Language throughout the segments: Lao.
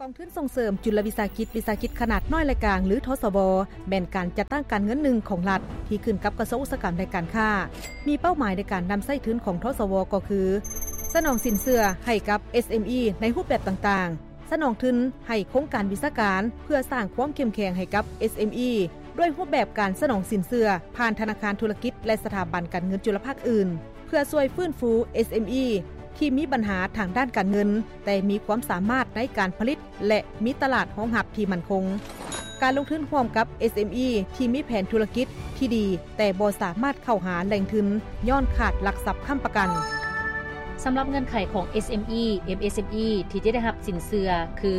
ກອງທຶນສົ່ງເສີມຈຸລະວິສາຫະກິດ ວິສາຫະກິດຂະໜາດນ້ອຍ ແລະ ກາງ ຫຼື ທສວ ແມ່ນການຈັດຕັ້ງການເງິນໜຶ່ງຂອງລັດ ທີ່ຂຶ້ນກັບກະຊວງອຸດສາຫະກຳ ແລະ ການຄ້າ. ມີເປົ້າໝາຍໃນການນຳໃຊ້ທຶນຂອງ ທສວ ກໍຄື ສະໜອງສິນເຊື່ອໃຫ້ກັບ ເອສເອັມອີ ໃນຮູບແບບຕ່າງໆ, ສະໜອງທຶນໃຫ້ໂຄງການວິຊາການ ເພື່ອສ້າງຄວາມເຂັ້ມແຂງໃຫ້ກັບ ເອສເອັມອີ ດ້ວຍຮູບແບບການສະໜອງສິນເຊື່ອຜ່ານທະນາຄານທຸລະກິດ ແລະ ສະຖາບັນການເງິນຈຸລະພາກອື່ນ ເພື່ອຊ່ວຍຟື້ນຟູ ເອສເອັມອີ ທີ່ມີບັນຫາທາງດ້ານການເງິນ ແຕ່ມີຄວາມສາມາດໃນການຜະລິດ ແລະ ມີຕະຫຼາດຮອງຮັບທີ່ໝັ້ນຄົງ. ການລົງທຶນຮ່ວມກັບ ເອສເອັມອີ ທີ່ມີແຜນທຸລະກິດທີ່ດີ ແຕ່ບໍ່ສາມາດເຂົ້າຫາແຫຼ່ງທຶນຍ້ອນຂາດຫຼັກຊັບຄ້ຳປະກັນ. ສຳລັບເງື່ອນໄຂຂອງ ເອສເອັມອີ ເອັມເອສເອັມອີ ທີ່ຈະໄດ້ຮັບສິນເຊື່ອຄື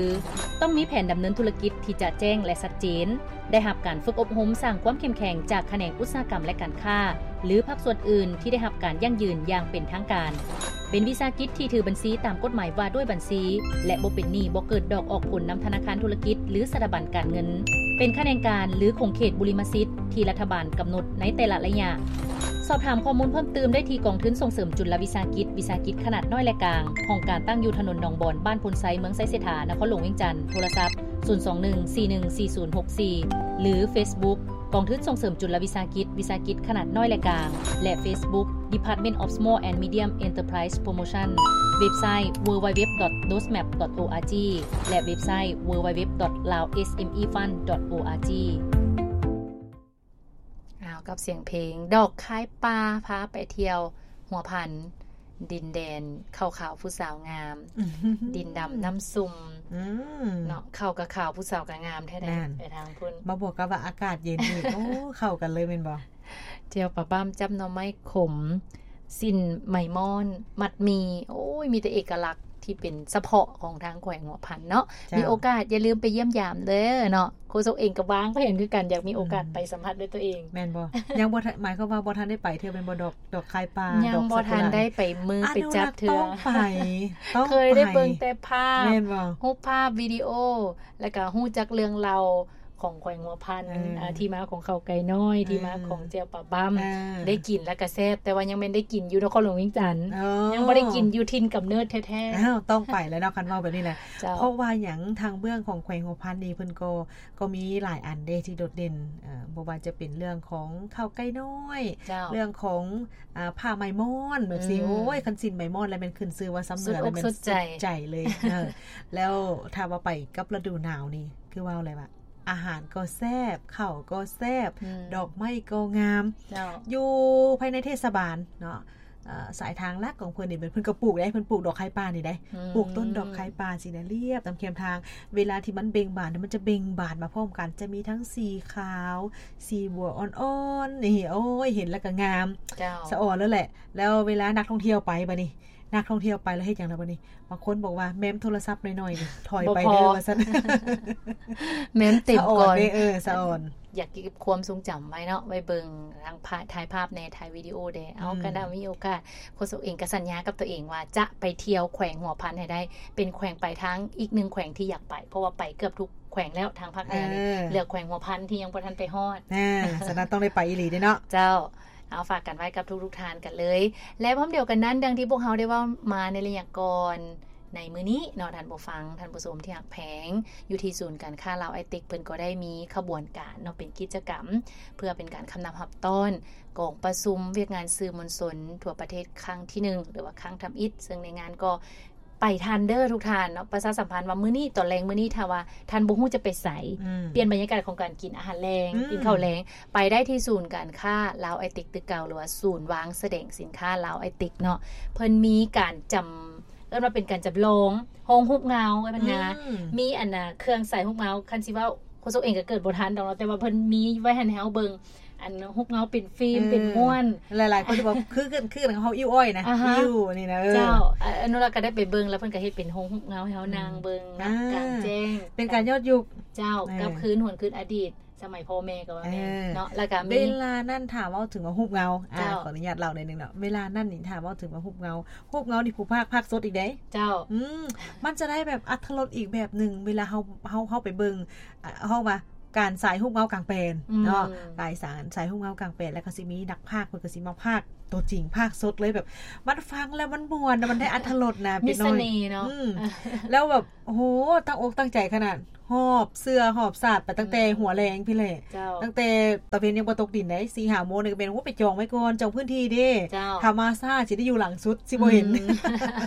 ຕ້ອງມີແຜນດຳເນີນທຸລະກິດທີ່ຈະແຈ້ງ ແລະ ຊັດເຈນ, ໄດ້ຮັບການຝຶກອົບຮົມສ້າງຄວາມເຂັ້ມແຂງຈາກຂະແໜງອຸດສາຫະກຳ ແລະ ການຄ້າ ຫຼື ພາກສ່ວນອື່ນທີ່ໄດ້ຮັບການຢັ້ງຢືນຢ່າງເປັນທາງການ, ເປັນວິສາຫະກິດທີ່ຖືບັນຊີຕາມກົດໝາຍວ່າດ້ວຍບັນຊີ ແລະ ບໍ່ເປັນໜີ້, ບໍ່ເກີດດອກອອກຜົນນຳທະນາຄານທຸລະກິດ ຫຼື ສະຖາບັນການເງິນ, ເປັນຂະແໜງການ ຫຼື ຂົງເຂດບຸລິມະສິດທີ່ລັດຖະບານກຳນົດໃນແຕ່ລະໄລຍະ. ສອບຖາມຂໍ້ມູນເພີ່ມຕື່ມໄດ້ທີ່ກອງທຶນສົ່ງເສີມຈຸລະວິສາຫະກິດ ວິສາຫະກິດຂະໜາດນ້ອຍ ແລະ ກາງ, ຫ້ອງການຕັ້ງຢູ່ຖະໜົນໜອງບອນ, ບ້ານໂພນໄຊ, ເມືອງໄຊເສດຖາ, ນະຄອນຫຼວງວຽງຈັນ, ໂທລະສັບ ສູນສອງໜຶ່ງ ສີ່ໜຶ່ງສີ່ສູນຫົກສີ່ ຫຼື ເຟສບຸກ ກອງທຶນສົ່ງເສີມຈຸລະວິສາຫະກິດ ວິສາຫະກິດຂະໜາດນ້ອຍ ແລະ ກາງ ແລະ ເຟສບຸກ Department of Small and Medium Enterprise Promotion, ເວັບໄຊ www.dosmap.org ແລະ ເວັບໄຊ www.laosmefund.org. ອ້າວ ກັບສຽງເພງ ດອກຄາຍປ່າ ພາໄປທ່ຽວຫົວພັນ ດິນແດນເຂົ້າຂາວຜູ້ສາວງາມ ດິນດຳນ້ຳຊຸ່ມ ອືມ ເນາະ ເຂົ້າກໍຂາວ ຜູ້ສາວກໍງາມແທ້ໆ ນັ້ນ ໄປທາງພຸ້ນ ມາບວກກັບວ່າອາກາດເຢັນອີກ ໂອ້ ເຂົ້າກັນເລີຍແມ່ນບໍ່? ແຈ່ວປາບ້າມ ຈ້ຳໜໍ່ໄມ້ຂົມ ສິ້ນໄໝມ້ອນ ມັດໝີ່ ໂອ້ຍ ມີແຕ່ເອກະລັກທີ່ເປັນສະເພາະຂອງທາງແຂວງຫົວພັນເນາະ ເຈົ້າ ມີໂອກາດຢ່າລືມໄປຢ້ຽມຢາມເດີເນາະ ໂຄສົກເອງກໍວາງແຜນຄືກັນ ຢາກມີໂອກາດ ອືມ ໄປສຳຜັດດ້ວຍຕົວເອງ ແມ່ນບໍ່? ຍັງບໍ່ທັນ ໝາຍຄວາມວ່າບໍ່ທັນໄດ້ໄປເທື່ອແມ່ນບໍ່? ດອກ ດອກຄາຍປ່າ ຍັງບໍ່ທັນໄດ້ໄປເມີ ໄປຈັບເທື່ອ ອະນຸລັກຕ້ອງໄປ ຕ້ອງໄປ ເຄີຍໄດ້ເບິ່ງແຕ່ພາບ ແມ່ນບໍ່? ຮູບພາບ ວິດີໂອ ແລ້ວກໍຮູ້ຈັກເລື່ອງລາວຂອງແຂວງຫົວພັນ ເອີ ອ່າ ທີ່ມາຂອງເຂົາໄກ່ນ້ອຍ ເອີ ທີ່ມາຂອງແຈ່ວປາບ້າມ ເອີ ໄດ້ກິນແລ້ວກໍແຊບ ແຕ່ວ່າຍັງແມ່ນໄດ້ກິນຢູ່ນະຄອນຫຼວງວຽງຈັນ ອໍ ຍັງບໍ່ໄດ້ກິນຢູ່ຖິ່ນກຳເນີດແທ້ໆ ອ້າວ ຕ້ອງໄປແລ້ວເນາະ ຄັນເວົ້າແບບນີ້ນະ ເຈົ້າ ເພາະວ່າຫຍັງ ທາງເບື້ອງຂອງແຂວງຫົວພັນນີ້ ເພິ່ນກໍ ກໍມີຫຼາຍອັນເດ້ທີ່ໂດດເດັ່ນ ເອີ ບໍ່ວ່າຈະເປັນເລື່ອງຂອງເຂົ້າໄກ່ນ້ອຍ ເຈົ້າ ເລື່ອງຂອງ ອ່າ ຜ້າໄໝມ້ອນແບບຊີ້ ອືມ ໂອ້ຍ ຄັນສິ້ນໄໝມ້ອນແລ້ວແມ່ນຂຶ້ນຊື່ວ່າຊາວເໜືອ ສຸດອົກສຸດໃຈ ສຸດໃຈເລີຍ ເອີ ແລ້ວຖ້າວ່າໄປກັບລະດູໜາວນີ້ ຄືເວົ້າແຫຼະວ່າ ອາຫານກໍແຊບ ເຂົ້າກໍແຊບ ອືມ ດອກໄມ້ກໍງາມ ເຈົ້າ ຢູ່ພາຍໃນເທດສະບານເນາະ ເອີ ສາຍທາງຫຼັກຂອງເພິ່ນນີ້ ເພິ່ນກໍປູກເດ້ ເພິ່ນປູກດອກຄາຍປ່ານີ້ເດ້ ອືມ ປູກຕົ້ນດອກຄາຍປ່າຊີ້ນະ ລຽບຕາມແຄມທາງ ເວລາທີ່ມັນເບັ່ງບານ ມັນຈະເບັ່ງບານມາພ້ອມກັນ ຈະມີທັງສີຂາວ ສີບົວອ່ອນໆ ນີ້ ໂອ້ຍ ເຫັນແລ້ວກໍງາມ ເຈົ້າ ສະອອນເລີຍແຫຼະ ແລ້ວເວລານັກທ່ອງທ່ຽວໄປບາດນີ້ ນັກທ່ອງທ່ຽວໄປແລ້ວເຮັດຫຍັງລະບາດນີ້? ບາງຄົນບອກວ່າແມ້ມໂທລະສັບໜ້ອຍໆ ຖອຍໄປເດີວ່າຊັ້ນ ແມ້ມເຕັມກ່ອນ ສະອອນເດ້ ເອີ ສະອອນ ຢາກເກັບຄວາມຊົງຈຳໄວ້ເນາະ ໄວ້ເບິ່ງທາງ ຖ່າຍພາບແດ່ ຖ່າຍວິດີໂອແດ່ ເອົາ ອືມ ກະໄດ້ມີໂອກາດ ໂຄສົກເອງກະສັນຍາກັບຕົວເອງວ່າຈະໄປທ່ຽວແຂວງຫົວພັນໃຫ້ໄດ້ ເປັນແຂວງປາຍທາງອີກໜຶ່ງແຂວງທີ່ຢາກໄປ ເພາະວ່າໄປເກືອບທຸກແຂວງແລ້ວ ທາງພາກເໜືອນີ້ ເອີ ເຫຼືອແຂວງຫົວພັນທີ່ຍັງບໍ່ທັນໄປຮອດ ແນ່ ສະນັ້ນຕ້ອງໄດ້ໄປອີ່ຫຼີເດ້ເນາະ ເຈົ້າ. ເອົາ ຝາກກັນໄວ້ກັບທຸກໆທ່ານກັນເລີຍ ແລະ ພ້ອມດຽວກັນນັ້ນ ດັ່ງທີ່ພວກເຮົາໄດ້ເວົ້າມາໃນໄລຍະກ່ອນ ໃນມື້ນີ້ເນາະ ທ່ານຜູ້ຟັງ ທ່ານຜູ້ຊົມທີ່ຮັກແພງ ຢູ່ທີ່ສູນການຄ້າລາວໄອເຕັກ ເພິ່ນກໍໄດ້ມີຂະບວນການເນາະ ເປັນກິດຈະກຳ ເພື່ອເປັນການຄຳນັບຮັບຕ້ອນກອງປະຊຸມວຽກງານສື່ມວນຊົນທົ່ວປະເທດຄັ້ງທີໜຶ່ງ ຫຼືວ່າຄັ້ງທຳອິດ ເຊິ່ງໃນງານກໍ ໄປທັນເດີທຸກທ່ານເນາະ ປະຊາສຳພັນວ່າມື້ນີ້ ຕອນແລງມື້ນີ້ ຖ້າວ່າທ່ານບໍ່ຮູ້ຈະໄປໃສ ອືມ ປ່ຽນບັນຍາກາດຂອງການກິນອາຫານແລງ ອືມ ກິນເຂົ້າແລງ ໄປໄດ້ທີ່ສູນການຄ້າລາວໄອເຕັກຕຶກເກົ່າ ຫຼືວ່າສູນວາງສະແດງສິນຄ້າລາວໄອເຕັກເນາະ ເພິ່ນມີການຈຳ ເອີ້ນວ່າເປັນການຈຳລອງໂຮງຮູບເງົາ ເອີ້ນວ່າ ອືມ ມີອັນນ່າ ເຄື່ອງສາຍຮູບເງົາ ຄັນຊິເວົ້າ ໂຄສົກເອງກໍເກີດບໍ່ທັນດອກເນາະ ແຕ່ວ່າເພິ່ນມີໄວ້ໃຫ້ເຮົາເບິ່ງ ອັນຮູບເງົາເປັນຟິມ ເອີ ເປັນມ້ວນ ຫຼາຍໆຄົນຊິບອກ ຄື ຄື ຄືເຮົາອິ້ວອ້ອຍນະ ອ່າຮະ ອິ້ວນີ້ນະ ເອີ ເຈົ້າ ອະນຸລັກກໍໄດ້ໄປເບິ່ງ ແລ້ວເພິ່ນກໍເຮັດເປັນໂຮງຮູບເງົາໃຫ້ເຮົາ ອືມ ນັ່ງເບິ່ງ ອ່າ ນຳກາງແຈ້ງ ເປັນການຍ້ອນຍຸກ ເຈົ້າ ເອີ ກັບຄືນຫວນຄືນອະດີດ ສະໄໝພໍ່ແມ່ກໍວ່າແມ່ນ ເອີ ເນາະ ແລ້ວກໍມີ ເວລານັ້ນຖ້າເວົ້າເຖິງວ່າຮູບເງົາ ອ່າ ເຈົ້າ ຂໍອະນຸຍາດເລົ່າໜ້ອຍໜຶ່ງເນາະ ເວລານັ້ນນີ້ຖ້າເວົ້າເຖິງວ່າຮູບເງົາ ຮູບເງົານີ້ຜູ້ພາກ ພາກສົດອີກເດ້ ເຈົ້າ ອືມ ມັນຈະໄດ້ແບບອັດຖະລົດອີກແບບໜຶ່ງ ເວລາເຮົາ ເຮົາ ເຮົາໄປເບິ່ງ ອ່າ ເຮົາວ່າການສາຍຮູບເງົາກາງແປນເນາະ ອືມ ກາຍສານ ສາຍຮູບເງົາກາງແປນ ແລ້ວກໍຊິມີນັກພາກ ເພິ່ນກໍຊິມາພາກ ຕົວຈິງພາກສົດເລີຍ ແບບມັນຟັງແລ້ວມັນມ່ວນ ມັນໄດ້ອຣດຖະລົດນະ ມີສະເໜ່ເນາະ ເປັນນ້ອງອີ່ງ ອືມ ແລ້ວແບບ ໂອ້ໂຫ ຕັ້ງອົກຕັ້ງໃຈຂະໜາດ ຫອບເສື້ອຫອບສາດໄປຕັ້ງແຕ່ ອືມ ຫົວແລງພຸ້ນແຫຼະ ເຈົ້າ ຕັ້ງແຕ່ຕາເວັນຍັງບໍ່ຕົກດິນໃດ໋ ສີ່ຫ້າໂມງນີ້ກໍແມ່ນ ໂອ້ ໄປຈອງໄວ້ກ່ອນ ຈອງພື້ນທີ່ເດ້ ເຈົ້າ ຖ້າມາຊ້າຊິໄດ້ຢູ່ຫຼັງສຸດ ຊິບໍ່ເຫັນ ອືມ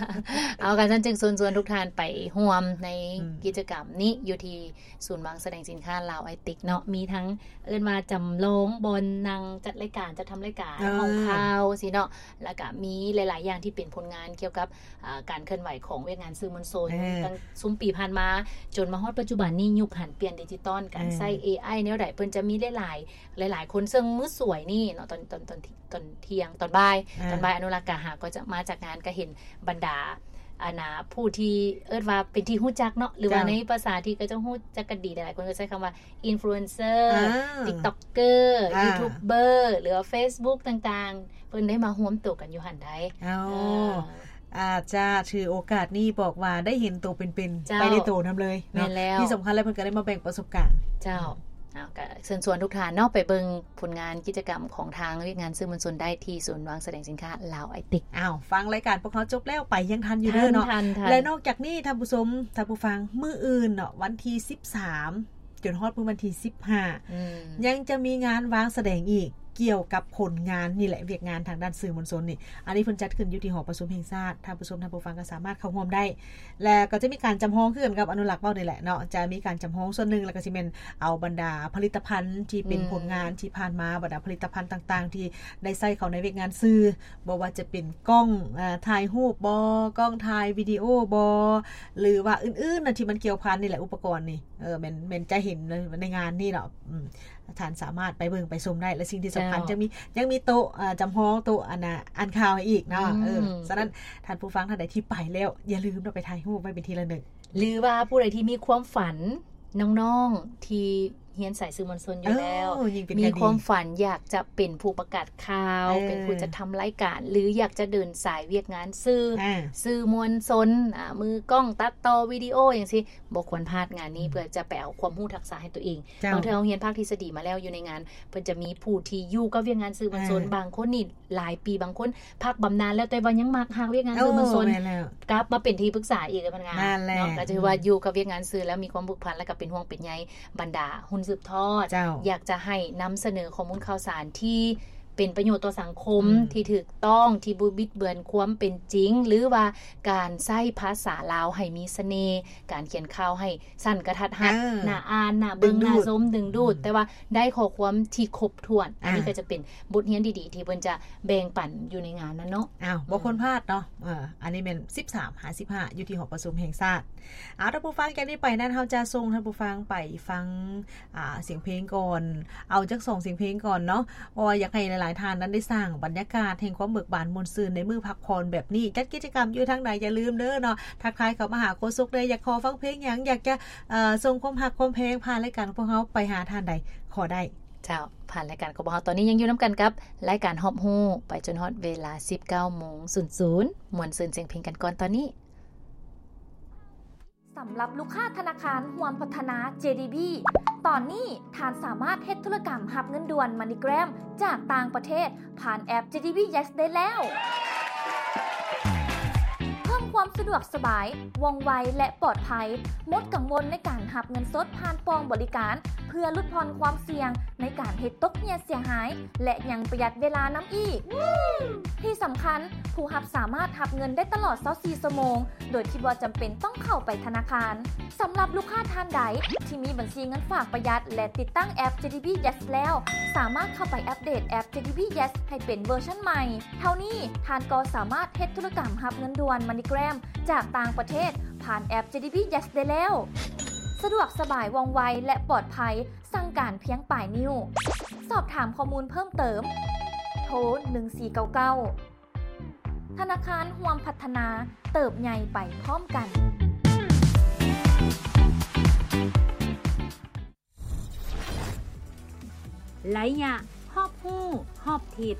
ເອົາ ກະຊັ້ນຈຶ່ງເຊີນຊວນທຸກທ່ານໄປຮ່ວມໃນ ອືມ ກິດຈະກຳນີ້ ຢູ່ທີ່ສູນວາງສະແດງສິນຄ້າລາວໄອເຕັກເນາະ ມີທັງ ເອີ້ນວ່າຈຳລອງບ່ອນນັ່ງຈັດລາຍການ ຈັດທຳລາຍການ ເອີ ຫ້ອງຂ່າວຊີ້ເນາະ ແລ້ວກະມີຫຼາຍໆຢ່າງທີ່ເປັນຜົນງານກ່ຽວກັບ ອາ ການເຄື່ອນໄຫວຂອງວຽກງານສື່ມວນຊົນ ເອີ ຕັ້ງຊຸມປີຜ່ານມາ ຈົນມາຮອດປັດຈຸບັນນີ້ ຍຸກຫັນປ່ຽນດິຈິຕອນ ການ ເອີ ໃຊ້ເອໄອແນວໃດ ເພິ່ນຈະມີຫຼາຍໆ ຫຼາຍໆຄົນ ເຊິ່ງມື້ສວຍນີ້ເນາະ ຕອນ ຕອນ ຕອນ ຕອນທ່ຽງ ຕອນບ່າຍ ອາ ຕອນບ່າຍ ອະນຸລັກກະຫາກໍຈະມາຈັດງານ ກະເຫັນບັນດາ ອັນນ່າ ຜູ້ທີ່ເອີ້ນວ່າເປັນທີ່ຮູ້ຈັກເນາະ ຫຼືວ່າ ເຈົ້າ ໃນພາສາທີ່ເຂົາເຈົ້າຮູ້ຈັກກັນດີ ຫຼາຍໆຄົນກໍໃຊ້ຄຳວ່າ ອິນຟລູເອັນເຊີ ອ່າ ຕິກຕັອກເກີ ອ່າ ຢູທູບເບີ ຫຼືວ່າເຟສບຸກຕ່າງໆ ເພິ່ນໄດ້ມາຮວມໂຕກັນຢູ່ຫັ້ນໃດ໋ ເອົາ ເອີ ອາດຈະຖືໂອກາດນີ້ບອກວ່າໄດ້ເຫັນໂຕເປັນໆ ເຈົ້າ ໄປໃນໂຕນຳເລີຍເນາະ ແມ່ນແລ້ວ ທີ່ສຳຄັນແລ້ວເພິ່ນກໍໄດ້ມາແບ່ງປະສົບການ ເຈົ້າ ເອົາ ກໍເຊີນຊວນທຸກທ່ານເນາະ ໄປເບິ່ງຜົນງານກິດຈະກຳຂອງທາງວຽກງານສື່ມວນຊົນໄດ້ທີ່ສູນວາງສະແດງສິນຄ້າລາວໄອເຕັກ ອ້າວ ຟັງລາຍການພວກເຮົາຈົບແລ້ວ ໄປຍັງທັນຢູ່ເດີເນາະ ທັນ ທັນ ແລະ ນອກຈາກນີ້ທ່ານຜູ້ຊົມ ທ່ານຜູ້ຟັງ ມື້ອື່ນເນາະ ວັນທີສິບສາມ ຈົນຮອດມື້ວັນທີສິບຫ້າ ອືມ ຍັງຈະມີງານວາງສະແດງອີກ ກ່ຽວກັບຜົນງານນີ້ແຫຼະ ວຽກງານທາງດ້ານສື່ມວນຊົນນີ້ ອັນນີ້ເພິ່ນຈັດຂຶ້ນຢູ່ທີ່ຫໍປະຊຸມແຫ່ງຊາດ ທ່ານຜູ້ຊົມ ທ່ານຜູ້ຟັງກໍສາມາດເຂົ້າຮ່ວມໄດ້ ແລະ ກໍຈະມີການຈຳລອງຄືກັນກັບອະນຸລັກເວົ້ານີ້ແຫຼະເນາະ ຈະມີການຈຳລອງສ່ວນໜຶ່ງ ແລ້ວກໍຊິແມ່ນເອົາບັນດາຜະລິດຕະພັນທີ່ເປັນ ອືມ ຜົນງານທີ່ຜ່ານມາ ບັນດາຜະລິດຕະພັນຕ່າງໆ ທີ່ໄດ້ໃຊ້ເຂົ້າໃນວຽກງານສື່ ບໍ່ວ່າຈະເປັນກ້ອງ ເອີ ຖ່າຍຮູບບໍ ກ້ອງຖ່າຍວິດີໂອບໍ ຫຼືວ່າອື່ນໆນະ ທີ່ມັນກ່ຽວພັນນີ້ແຫຼະ ອຸປະກອນນີ້ ເອີ ແມ່ນ ແມ່ນຈະເຫັນໃນ ໃນງານນີ້ເນາະ ອືມ ທ່ານສາມາດໄປເບິ່ງໄປຊົມໄດ້ ແລະ ສິ່ງທີ່ສຳຄັນ ເຈົ້າ ຍັງມີ ຍັງມີໂຕະ ອາ ຈຳລອງ ໂຕະ ອັນນ່າ ອ່ານຂ່າວໃຫ້ອີກເນາະ ອືມ ເອີ ສະນັ້ນ ທ່ານຜູ້ຟັງທ່ານໃດທີ່ໄປແລ້ວ ຢ່າລືມເນາະ ໄປຖ່າຍຮູບໄວ້ເປັນທີ່ລະນຶກ ຫຼືວ່າຜູ້ໃດທີ່ມີຄວາມຝັນ ນ້ອງໆທີ່ຮຽນສາຍສື່ມວນຊົນຢູ່ແລ້ວ ເອີ ມີຄວາມຝັນຢາກຈະເປັນຜູ້ປະກາດຂ່າວ ເອີ ເປັນຜູ້ຈັດທຳລາຍການ ຫຼື ຢາກຈະເດີນສາຍວຽກງານສື່ ເອີ ສື່ມວນຊົນ ອາ ມືກ້ອງ ຕັດຕໍ່ວິດີໂອ ຈັ່ງຊີ້ ບໍ່ຄວນພາດງານນີ້ ອືມ ເພື່ອຈະໄປເອົາຄວາມຮູ້ທັກສະໃຫ້ຕົວເອງ ເຈົ້າ ບາງເທື່ອເຮົາຮຽນພາກທິດສະດີມາແລ້ວ ຢູ່ໃນງານເພິ່ນຈະມີຜູ້ທີ່ຢູ່ກັບວຽກງານສື່ມວນຊົນ ເອີ ບາງຄົນນີ້ຫຼາຍປີ ບາງຄົນພັກບຳນານແລ້ວ ແຕ່ວ່າຍັງມັກຮັກວຽກງານ ໂອ້ ສື່ມວນຊົນ ແມ່ນແລ້ວ ກັບມາເປັນທີ່ປຶກສາອີກກັບງານ ນັ້ນແຫຼະ ເນາະ ກໍຖືວ່າ ອືມ ຢູ່ກັບວຽກງານສື່ແລ້ວມີຄວາມຜູກພັນ ແລ້ວກໍເປັນຫ່ວງເປັນໃຍບັນດາຮຸ່ນສືບທອດ ເຈົ້າ ຢາກຈະໃຫ້ນຳສະເໜີຂໍ້ມູນຂ່າວສານທີ່ ເປັນປະໂຫຍດຕໍ່ສັງຄົມ ອືມ ທີ່ຖືກຕ້ອງ ທີ່ບໍ່ບິດເບືອນຄວາມເປັນຈິງ ຫຼືວ່າການໃຊ້ພາສາລາວໃຫ້ມີສະເໜ່ ການຂຽນຂ່າວໃຫ້ສັ້ນກະທັດຮັດ ເອີ ໜ້າອ່ານ ໜ້າເບິ່ງ ດຶງດູດ ໜ້າຊົມ ດຶງດູດ ອືມ ແຕ່ວ່າໄດ້ຂໍ້ຄວາມທີ່ຄົບຖ້ວນ ອ່າ ອັນນີ້ກໍຈະເປັນບົດຮຽນດີໆ ທີ່ເພິ່ນຈະແບ່ງປັນຢູ່ໃນງານນັ້ນເນາະ ອ້າວ ບໍ່ຄວນພາດເນາະ ອືມ ເອີ ອັນນີ້ແມ່ນສິບສາມຫາສິບຫ້າ ຢູ່ທີ່ຫໍປະຊຸມແຫ່ງຊາດ ເອົາ ທ່ານຜູ້ຟັງ ຈາກນີ້ໄປນັ້ນ ເຮົາຈະສົ່ງທ່ານຜູ້ຟັງໄປຟັງ ອ່າ ສຽງເພງກ່ອນ ເອົາຈັກສອງສຽງເພງກ່ອນເນາະ ເພາະວ່າຢາກໃຫ້ຫຼາຍໆທ່ານນັ້ນໄດ້ສ້າງບັນຍາກາດແຫ່ງຄວາມເບີກບານມ່ວນຊື່ນໃນມື້ພັກຜ່ອນແບບນີ້ ຈັດກິດຈະກຳຢູ່ທາງໃດ ຢ່າລືມເດີເນາະ ທັກທາຍເຂົ້າມາຫາໂຄສົກໄດ້ ຢາກຂໍຟັງເພງຫຍັງ ຢາກຈະ ເອີ ສົ່ງຄວາມຮັກຄວາມແພງຜ່ານລາຍການຂອງພວກເຮົາໄປຫາທ່ານໃດ ຂໍໄດ້ ເຈົ້າ ຜ່ານລາຍການຂອງພວກເຮົາ ຕອນນີ້ຍັງຢູ່ນຳກັນກັບລາຍການຮອບຮູ້ ໄປຈົນຮອດເວລາສິບເກົ້າໂມງສູນສູນ ມ່ວນຊື່ນສຽງເພງກັນກ່ອນຕອນນີ້. ສຳລັບລູກຄ້າທະນາຄານຮ່ວມພັດທະນາ ເຈດີບີ ຕອນນີ້ທ່ານສາມາດເຮັດທຸລະກຳຮັບເງິນດ່ວນ MoneyGram ຈາກຕ່າງປະເທດຜ່ານແອັບ ເຈດີບີ Yes ໄດ້ແລ້ວ. ເພີ່ມຄວາມສະດວກສະບາຍ, ວ່ອງໄວ ແລະ ປອດໄພ, ໝົດກັງວົນໃນການຮັບເງິນສົດຜ່ານປ່ອງບໍລິການ ເພື່ອຫຼຸດຜ່ອນຄວາມສ່ຽງໃນການເຮັດຕົກເຫຍເສຍຫາຍ ແລະ ຍັງປະຢັດເວລານຳອີກ. ທີ່ສຳຄັນ, ຜູ້ຮັບສາມາດຮັບເງິນໄດ້ຕະຫຼອດຊາວສີ່ຊົ່ວໂມງ ໂດຍທີ່ບໍ່ຈຳເປັນຕ້ອງເຂົ້າໄປທະນາຄານ. ສຳລັບລູກຄ້າທ່ານໃດທີ່ມີບັນຊີເງິນຝາກປະຢັດ ແລະ ຕິດຕັ້ງແອັບ ເຈດີບີ Yes ແລ້ວ, ສາມາດເຂົ້າໄປອັບເດດແອັບ ເຈດີບີ Yes ໃຫ້ເປັນເວີຊັນໃໝ່. ເທົ່ານີ້, ທ່ານກໍສາມາດເຮັດທຸລະກຳຮັບເງິນດ່ວນ MoneyGram ຈາກຕ່າງປະເທດຜ່ານແອັບ ເຈດີບີ Yes ໄດ້ແລ້ວ. ສະດວກສະບາຍ, ວ່ອງໄວ ແລະ ປອດໄພ, ສັ່ງການພຽງປາຍນິ້ວ. ສອບຖາມຂໍ້ມູນເພີ່ມເຕີມ, ໂທ ໜຶ່ງສີ່ເກົ້າເກົ້າ. ທະນາຄານຮ່ວມພັດທະນາ, ເຕີບໃຫຍ່ໄປພ້ອມກັນ. ໄລຍະຮອບຮູ້ຮອບທິດ.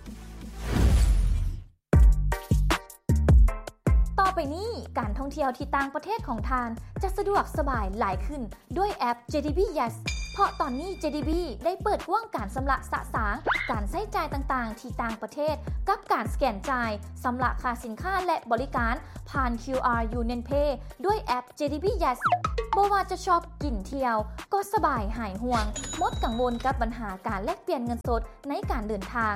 ຕໍ່ໄປນີ້, ການທ່ອງທ່ຽວທີ່ຕ່າງປະເທດຂອງທ່ານຈະສະດວກສະບາຍຫຼາຍຂຶ້ນ ດ້ວຍແອັບ ເຈດີບີ Yes. ເພາະຕອນນີ້ ເຈດີບີ ໄດ້ເປີດກວ້າງການຊຳລະສະສາງການໃຊ້ຈ່າຍຕ່າງໆທີ່ຕ່າງປະເທດ ກັບການສະແກນຈ່າຍ, ຊຳລະຄ່າສິນຄ້າ ແລະ ບໍລິການຜ່ານ ຄິວອາຣ໌ ຢູນຽນເພ ດ້ວຍແອັບ ເຈດີບີ ແຢສ. ບໍ່ວ່າຈະຊອບ, ກິນ, ທ່ຽວ ກໍສະບາຍຫາຍຫ່ວງ, ໝົດກັງວົນກັບບັນຫາການແລກປ່ຽນເງິນສົດໃນການເດີນທາງ.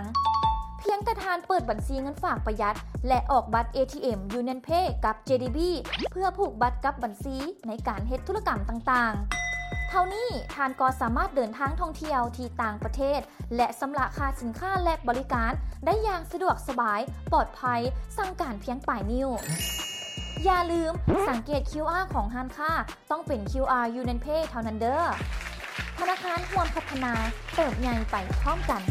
ພຽງແຕ່ທ່ານເປີດບັນຊີເງິນຝາກປະຢັດ ແລະ ອອກບັດ ເອທີເອັມ ຢູນຽນເພ ກັບ ເຈດີບີ ເພື່ອຜູກບັດກັບບັນຊີໃນການເຮັດທຸລະກຳຕ່າງໆ. ເທົ່ານີ້ທ່ານກໍສາມາດເດີນທາງທ່ອງທ່ຽວທີ່ຕ່າງປະເທດ ແລະ ຊຳລະຄ່າສິນຄ້າ ແລະ ບໍລິການໄດ້ຢ່າງສະດວກສະບາຍ, ປອດໄພ, ສັ່ງການພຽງປາຍນິ້ວ. ຢ່າລືມ, ສັງເກດ ຄິວອາຣ໌ ຂອງຮ້ານຄ້າ ຕ້ອງເປັນ ຄິວອາຣ໌ ຢູນຽນເພ ເທົ່ານັ້ນເດີ້. ທະນາຄານຮ່ວມພັດທະນາ, ເຕີບໃຫຍ່ໄປພ້ອມກັນ.